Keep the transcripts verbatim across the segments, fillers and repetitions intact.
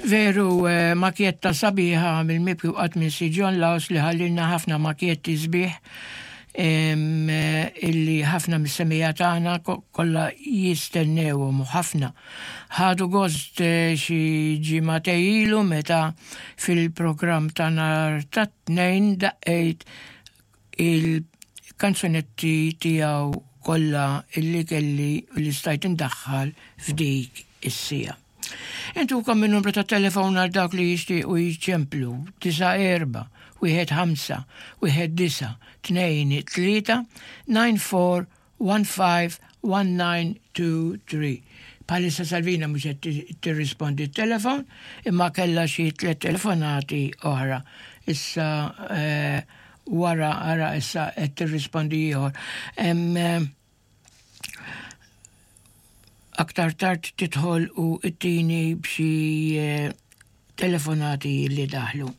Veru, eh, makjetta sabiħa mill-mibki qatt minn Si John Laws li ħallilna ħafna makjetti sbieħ eh, illi ħafna mis-semija tagħna kollha jistennewhom u ħafna. Ħadu gost eh, xi ġimagħtejn ilu meta fil-programm ta' nhar ta' tnejn daqqejt il-kanzunetti tiegħu kollha illi kelli li stajt indaħħal f'dik is-sija. Intukom min-numru ta' telefon għal dak li jixtiequ jiċemplu tisa' erba' wieħed ħamsa wieħed disa' tnejn tlieta nine four one five one nine two three. Bħalissa Salvina mhux qed tirrispondi t-telefon imma kellha xi tliet telefonati oħra. Issa eh, wara ara issa qed tirrispondi ieħor. Eh, aktar tard tidħol u ttini b'xi eh, telefonati li daħlu.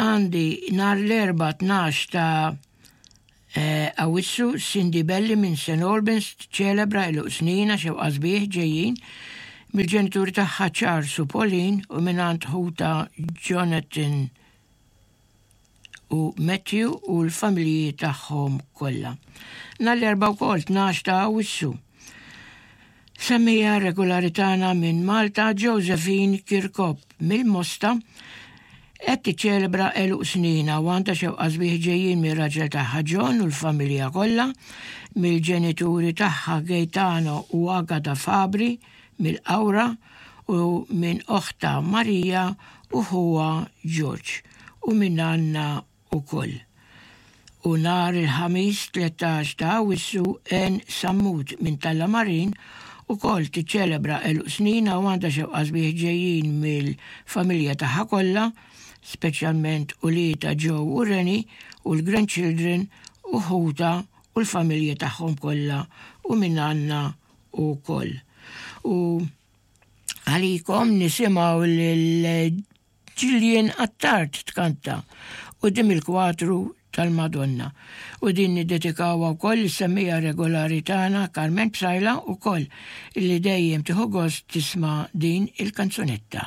Għandi nhar l-Erbgħa tnax ta' eh, Awwissu Cindy Belli minn Saint Albans ċelebra għeluq sninha xewqa sbieħ ġejjin mill-ġenituri tagħha Charles u Pauline u mingħand ħuta Jonathan u Matthew u l-familji tagħhom kollha. Nhar l-Erbgħa wkoll tnax ta' Awwissu. Semmija regolari tagħna minn Malta Josephine Kirkop mill-Mosta qed tiċċelebra għeluq sninha u għandha xewqa sbieħ ġejjin mir-raġel tagħha John u l-familja kollha, mill-ġenituri tagħha Gaetano u Agata Fabri mill-Qawra u minn oħta Marija u ħuha George u minn Anna ukoll. U nhar il-Ħamis tlettax ta' Awwissu Ann Sammut minn Tallamarin ukoll tiċċelebra għeluq sninha u għandha xewqa sbieħ ġejjin mill-familja tagħha kollha, speċjalment uliedha Joe u Rennie u l-grandchildren u ħuta u l-familja tagħhom kollha u minn Anna ukoll. U għalikom nisimgħu lil Gillian Attard tkanta quddiem il-kwadru tal-Madonna. U din niddedikawha wkoll is-semmija regolari tagħna Carmen Psajla wkoll illi dejjem tieħu gost tisma' din il-kanzunetta.